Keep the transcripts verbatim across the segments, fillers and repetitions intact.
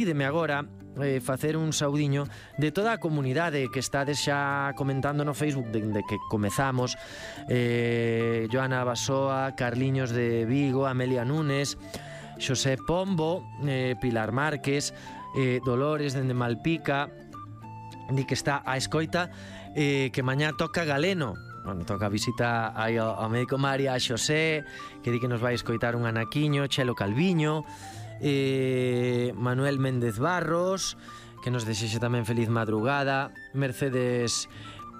Pídeme agora eh, facer un saudiño de toda a comunidade que estades xa comentando no Facebook dende que comezamos. eh, Joana Basoa, Carliños de Vigo, Amelia Núñez, Xosé Pombo, eh, Pilar Márquez, eh, Dolores dende Malpica, di que está a escoita, eh, que mañá toca Galeno. Bueno, toca a visita aí ao, ao médico María, a Xosé, que di que nos vai escoitar un anaquiño, Chelo Calviño, eh, Manuel Méndez Barros, que nos desexe tamén feliz madrugada, Mercedes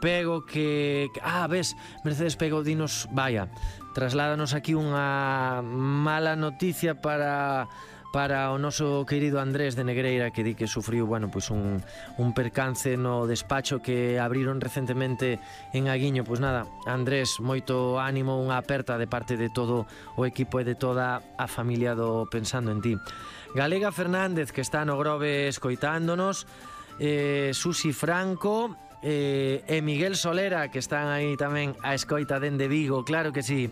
Pego, que... Ah, ves, Mercedes Pego dinos, vaya, trasládanos aquí unha mala noticia para... para o noso querido Andrés de Negreira, que di que sufriu, bueno, pois un, un percance no despacho que abriron recentemente en Aguiño. Pois nada, Andrés, moito ánimo, unha aperta de parte de todo o equipo e de toda a familia do Pensando en Ti. Galega Fernández, que está no Grove escoitándonos, eh, Susi Franco, eh, e Miguel Solera, que están aí tamén a escoita dende Vigo, claro que sí.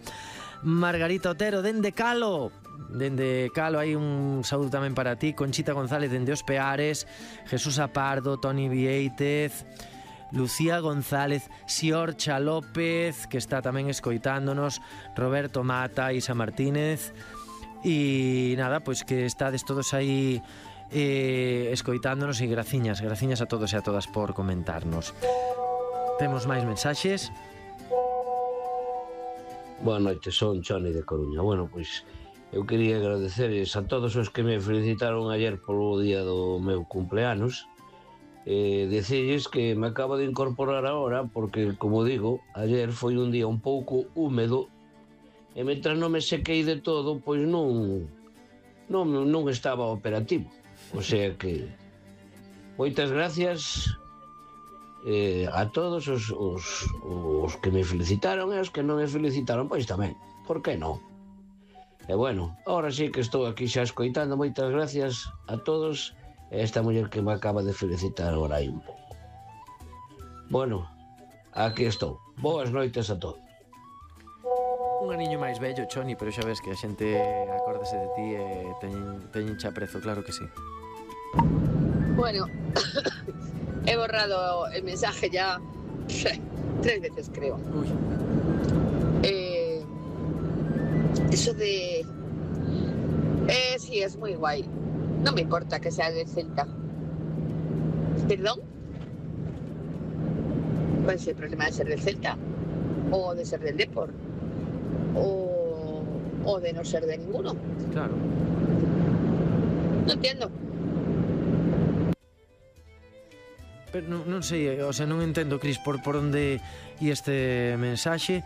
Margarita Otero dende Calo, dende Calo hai un saúdo tamén para ti. Conchita González dende Os Peares, Jesús Apardo, Toni Vieitez, Lucía González, Siorcha López, que está tamén escoitándonos, Roberto Mata, Isa Martínez. E nada, pois que estades todos aí eh, escoitándonos, e graciñas, graciñas a todos e a todas por comentarnos. Temos máis mensaxes. Boa noite, son Choni de Coruña. Bueno, pois eu quería agradecerles a todos os que me felicitaron ayer polo día do meu cumpleanos, e decirles que me acabo de incorporar agora porque, como digo, ayer foi un día un pouco húmedo e mentras non me sequei de todo, pois non non, non estaba operativo. O sea que moitas gracias Eh, a todos os, os, os que me felicitaron e os que non me felicitaron, pois tamén, por que non? E bueno, ahora sí que estou aquí xa escoitando. Moitas gracias a todos e esta muller que me acaba de felicitar agora aí un pouco. Bueno, aquí estou. Boas noites a todos. Un aniño máis vello, Choni, pero xa ves que a xente acórdase de ti e teñen, teñen xa prezo, claro que sí. Bueno, he borrado el mensaje ya tres veces, creo. Uy. Eh, eso de... Eh, sí, es muy guay. No me importa que sea del Celta. ¿Perdón? ¿Cuál es el problema de ser del Celta? ¿O de ser del Depor? ¿O, o de no ser de ninguno? Claro. No entiendo. Pero non, non sei, o sea, non entendo, Cris, por, por onde e este mensaxe.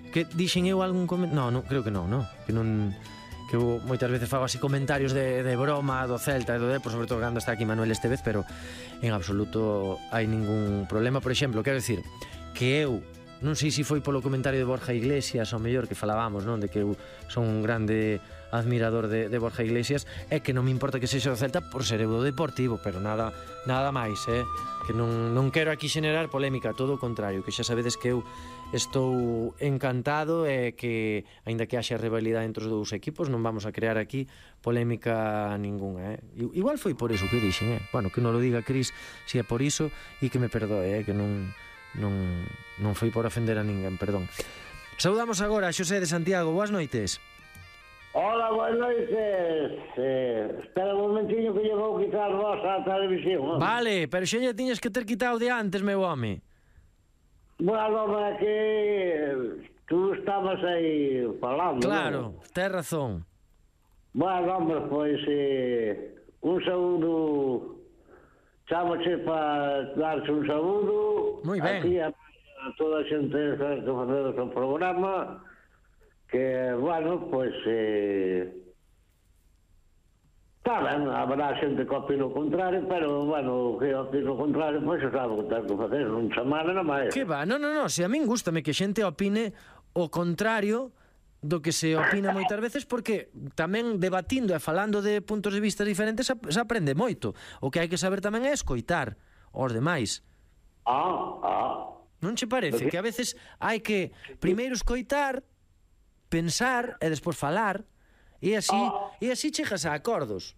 Que dixen eu algún comentario? No, non, creo que non, no? Que non... Que eu moitas veces fago así comentarios de, de broma do Celta e do Depor, sobre todo cando está aquí Manuel este vez, pero en absoluto hai ningún problema. Por exemplo, quero dicir que eu non sei se foi polo comentario de Borja Iglesias, ao mellor, que falábamos, non? De que eu son un grande admirador de, de Borja Iglesias, é que non me importa que sexa do Celta por ser eu do Deportivo, pero nada nada máis, eh? Que non, non quero aquí xenerar polémica, todo o contrario, que xa sabedes que eu estou encantado e que, aínda que haxa rivalidade entre os dous equipos, non vamos a crear aquí polémica ninguna, eh? Igual foi por iso que dixen, eh? Bueno, que non lo diga Cris, se é por iso, e que me perdoe, eh? Que non... Non, non foi por ofender a ninguén, perdón. Saudamos agora a Xosé de Santiago. Boas noites. Hola, boas noites. eh, Espera un momentinho que lle vou quitar vos a televisión, ¿no? Vale, pero xa lle tiñes que ter quitado de antes, meu home. Bueno, é que tú estabas aí falando. Claro, ¿no? tes razón. Bueno, hombre, pois eh, un saúdo. Chámoche para darse un saúdo. Moi ben. Aquí a, a toda a xente que facemos o programa, que, bueno, pois eh, está ben, habrá xente que opina o contrario, pero, bueno, que opina o contrario, pois xa sabe o que ten que facer, non chamar nada máis. Que va, non, non, non, se a min gústame que xente opine o contrario do que se opina moitas veces, porque tamén debatindo e falando de puntos de vista diferentes se aprende moito. O que hai que saber tamén é escoitar aos demais. Ah, ah. Non che parece que a veces hai que primeiro escoitar, pensar e despois falar, e así, e así chegas a acordos?